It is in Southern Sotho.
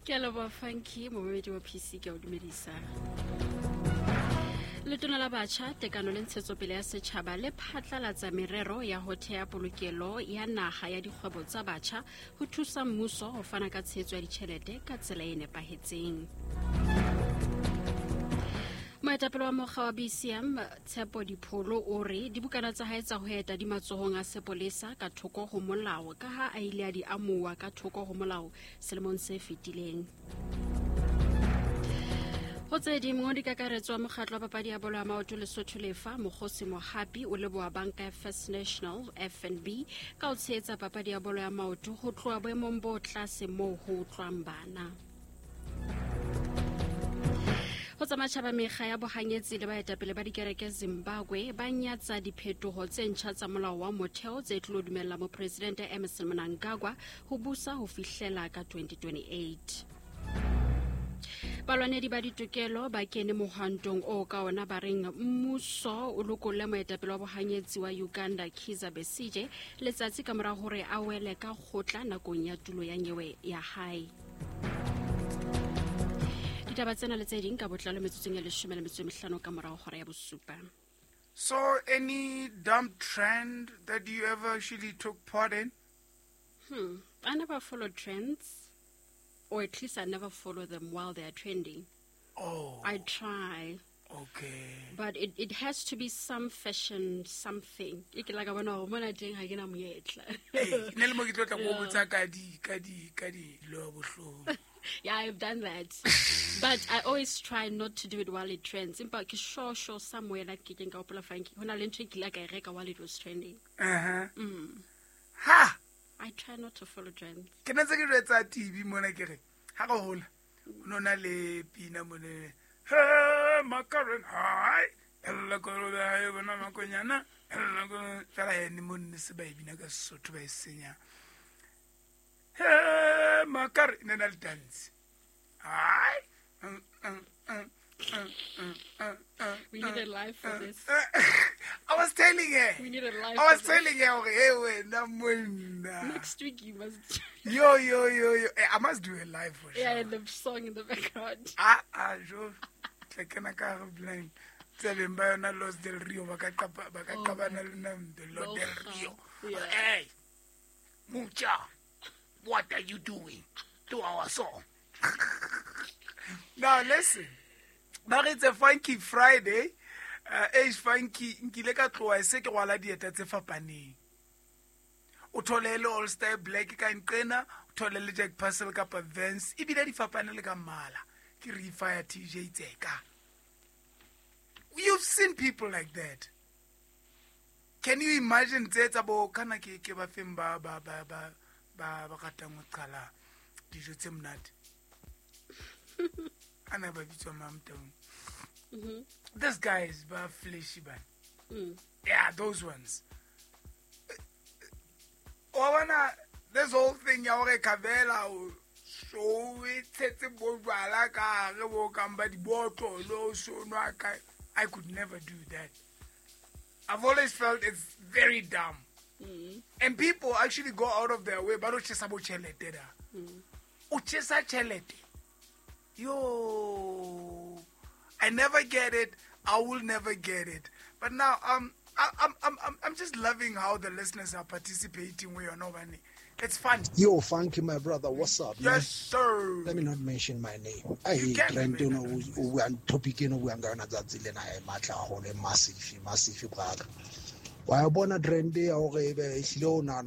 Ke a leboha, Funky. Momamedi wa PC, ke a o dumedisa. Letona la batjha, tekano le ntshetsopele ya setjhaba le phatlalatsa merero ya ho thea polokelo ya naha ya dikgwebo tsa batjha ho thusa mmuso ho fana ka tshehetso ya ditjhelete ka tsela e nepahetseng. Moetapele wa mokga wa BCM, Tshepo Dipholo, o re dibukana tsa hae tsa ho eta di matsohong a sepolesa ka thoko ho molao ka ha a ile a di amuwa ka thoko ho molao selemong se fetileng. Ho tse ding, mongodi kakaretso wa mokgatlo wa papadi ya bolo ya maoto Lesotho Lefa, Mokgosi Mohapi, o leboha banka ya First National, FNB, ka ho tshehetsa papadi ya bolo ya maoto ho tloha boemong bo tlase moo ho utlwang bana. Ho tsa matjhaba, mekga ya bohanyetsi le baetapele ba dikereke Zimbabwe ba nyatsa diphetoho tse ntjha tsa molao wa motheo tse tlo dumella mopresidente Emmerson Mnangagwa ho busa ho fihlela ka 2028. Balwanedi ba ditokelo ba kene mohwantong o ka ona ba reng mmuso o lokolle moetapele wa bohanyetsi wa Uganda Kizza Besigye letsatsi ka mora hore a wele ka kgotla nakong ya tulo ya nyewe ya hae. Ditaba tsena le tse ding ka botlalo metsotsong ya 15 ka morago hora ya bosupa. So, any dumb trend that you ever actually took part in? I never follow trends, or at least I never follow them while they are trending. Oh. I try. But it has to be some fashion, something. E ke la ka bona hore mona teng ha ke na monyetla. Hey, ne le mo ke tlo tla go botsa ka di lo bohloko. Yeah, I've done that. But I always try not to do it while it trends. Empa ke sure somewhere like ke keng ka hopola, Frankie. Ho na le ntho e kile ka e reka while it was trending. Ha! I try not to follow trends. Ke ne ntse ke jwetsa TV mona ke re ha re hola ho no na le pina mone, he Makaren hai ella kolobe ha e bona makonyana ella fela ene mo nne se ba e bina ka Sesotho ba e senya he makare ne na le dance hai. We need a live for this. I was telling her. We need a live I was for this. Telling her, okay, hey, wena monna. Next week you must. Yo, yo, yo, yo. Eh, I must do a live for sure. Yeah, and the song in the background. Ah, ah, jo. Tla kena ka hare blind. Tse beng ba yona Los del Rio ba ka qapa ba ka Oh, qabana le nna the Lord del Loja. Rio. Yeah. Hey. Mucha. What are you doing to our song? Now listen. Ba re, it's a Funky Friday. Age Funky nkile ka tloha e se ke rwala dieta tse fapaneng. O thole le All Star Black ka nqena, o thole le Jack Purcell kapa Vans, ebile di fapane le ka mmala. Ke Refire TJ Tseka. You've seen people like that. Can you imagine tse tsa bo kana ke ba feng ba ratang ho qala dijo tse monate? Ana ba bitswa mang teng? This guy is ba fleshy ban. Yeah, those ones. Wa bona this whole thing ya hore Kavela o so e tshetse bo jwala ka hare bo kang ba dibotlolo so nwa ka, I could never do that. I've always felt it's very dumb. And people actually go out of their way ba lo tjhesa bo tjhelete da. O tjhesa tjhelete. Yo, I never get it. I will never get it. But now I'm just loving how the listeners are participating with your money. It's fun. Yo, Funky, my brother, what's up, man? Yes, sir. Let me not mention my name. You Ai, can trend mention eno o buang, topic eno o buang ka yona tsatsi lena e matla haholo, e massive, massive, brother. Wa bona trend ya hore ebe ehlile o nahana